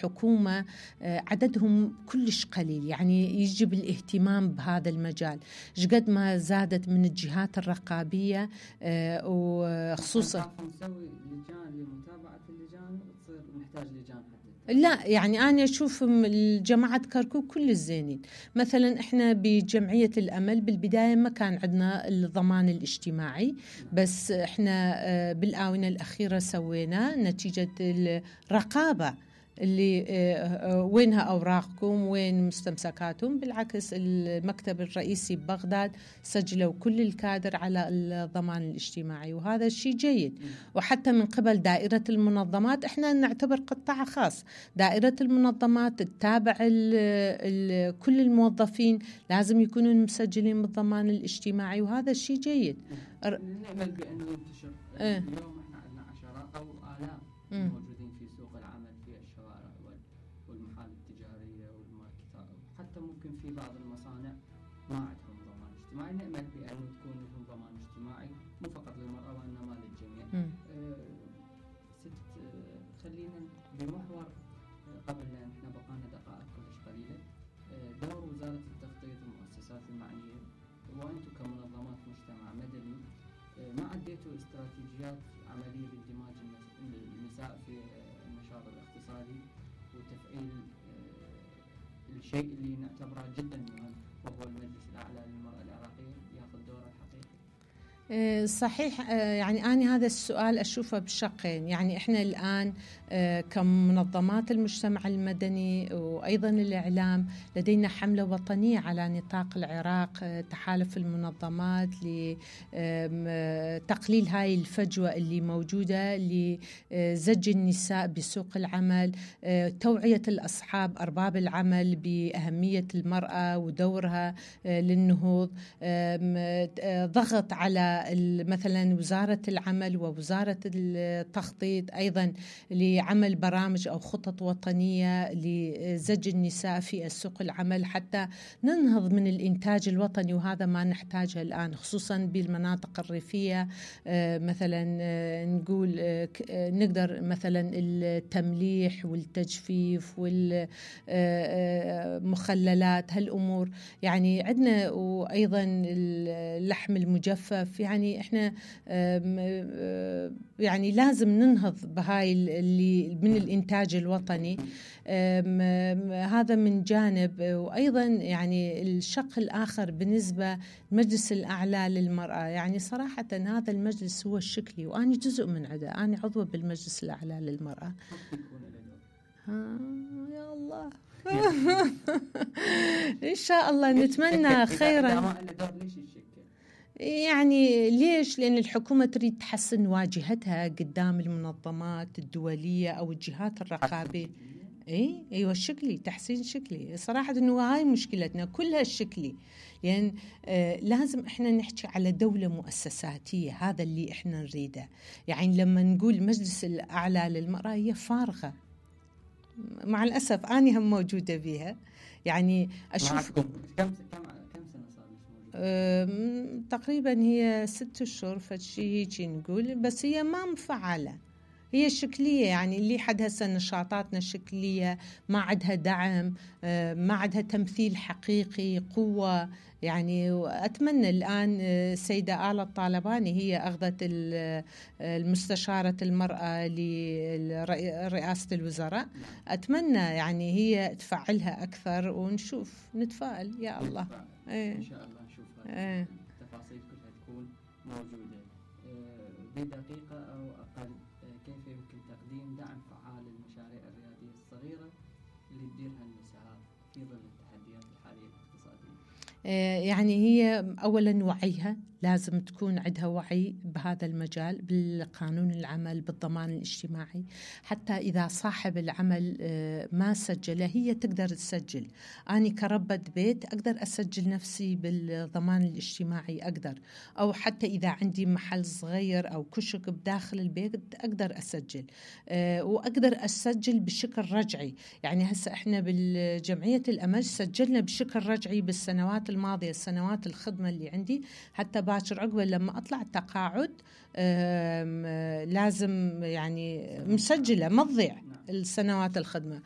حكومة عددهم كلش قليل، يعني يجب الاهتمام بهذا المجال. قد ما زادت من الجهات الرقابية وخصوصا نسوي لجان لمتابعة اللجان وتصير نحتاج لجان حتى. لا يعني أنا أشوف الجماعة كركوك كل الزينين. مثلا إحنا بجمعية الأمل بالبداية ما كان عندنا الضمان الاجتماعي، بس إحنا بالآونة الأخيرة سوينا نتيجة الرقابة اللي وينها أوراقكم وين مستمسكاتهم. بالعكس المكتب الرئيسي ببغداد سجلوا كل الكادر على الضمان الاجتماعي، وهذا الشيء جيد. وحتى من قبل دائرة المنظمات، احنا نعتبر قطاع خاص، دائرة المنظمات تتابع كل الموظفين لازم يكونوا مسجلين بالضمان الاجتماعي، وهذا الشيء جيد. نعمل بأنه ينتشر. اليوم احنا عندنا عشرات أو آلاف موجودين في سوق العمل في الشوارع والمحال التجارية والماركتات، حتى ممكن في بعض المصانع ما عندهم ضمان اجتماعي. نأمل بأنه تكون لهم ضمان اجتماعي مو فقط للمرأة وإنما للجميع. خلينا بمحور قبل لأن احنا بقانا دقائق كلش قليلة. دور وزارة التخطيط والمؤسسات المعنية وأنتم كمنظمات مجتمع مدني، ما عديتوا استراتيجيات عملية لاندماج النساء في النشاط الاقتصادي وتفعيل الشيء اللي نعتبره جدا مهم وهو المجلس الأعلى للمرأة العراقية ياخذ دوره الحقيقي؟ صحيح. يعني أنا هذا السؤال أشوفه بشقين. يعني إحنا الآن كمنظمات المجتمع المدني وأيضا الإعلام لدينا حملة وطنية على نطاق العراق، تحالف المنظمات لتقليل هاي الفجوة اللي موجودة لزج النساء بسوق العمل، توعية الأصحاب أرباب العمل بأهمية المرأة ودورها للنهوض، ضغط على مثلا وزارة العمل ووزارة التخطيط أيضا لعمل برامج أو خطط وطنية لزج النساء في السوق العمل حتى ننهض من الإنتاج الوطني، وهذا ما نحتاجه الآن خصوصا بالمناطق الريفية. مثلا نقول نقدر مثلا التمليح والتجفيف والمخللات هالأمور يعني عندنا، وأيضا اللحم المجفف. يعني إحنا يعني لازم ننهض بهاي اللي من الإنتاج الوطني. هذا من جانب. وأيضا يعني الشق الآخر بالنسبة للمجلس الأعلى للمرأة، يعني صراحة هذا المجلس هو الشكلي وأنا جزء من عده، أنا عضوة بالمجلس الأعلى للمرأة. يا الله إن شاء الله نتمنى خيرا. يعني ليش؟ لأن الحكومة تريد تحسن واجهتها قدام المنظمات الدولية أو الجهات الرقابية. ايوه الشكلي، تحسين شكلي. صراحة انه هاي مشكلتنا كلها الشكلي، لان لازم احنا نحكي على دولة مؤسساتية، هذا اللي احنا نريده. يعني لما نقول مجلس الأعلى للمرأة هي فارغة مع الأسف، أنا هم موجودة بها. يعني أشوف كم سنة صار موجودة؟ تقريبا هي 6 أشهر فشي هيك نقول، بس هي ما مفعلة، هي شكلية. يعني اللي حد هسه نشاطاتنا شكلية، ما عندها دعم، ما عندها تمثيل حقيقي قوة. يعني أتمنى الآن السيدة آلة الطالباني هي أخذت المستشارة المرأة لرئاسة الوزراء، أتمنى يعني هي تفعلها أكثر ونشوف، نتفائل يا الله. إن شاء الله نشوف التفاصيل كلها تكون موجودة. بدقيقة أو أقل، كيف يمكن تقديم دعم فعال للمشاريع الريادية الصغيرة اللي تديرها النساء في ظل التحديات الحالية الاقتصادية؟ يعني هي أولا وعيها، لازم تكون عندها وعي بهذا المجال، بالقانون العمل، بالضمان الاجتماعي، حتى إذا صاحب العمل ما سجله هي تقدر تسجل. أنا كربة بيت أقدر أسجل نفسي بالضمان الاجتماعي أقدر، أو حتى إذا عندي محل صغير أو كشك بداخل البيت أقدر أسجل، وأقدر أسجل بشكل رجعي. يعني هسه إحنا بالجمعية الأمل سجلنا بشكل رجعي بالسنوات الماضية، سنوات الخدمة اللي عندي، حتى باكر عقبة لما أطلع التقاعد لازم يعني مسجلة ما تضيع السنوات الخدمة.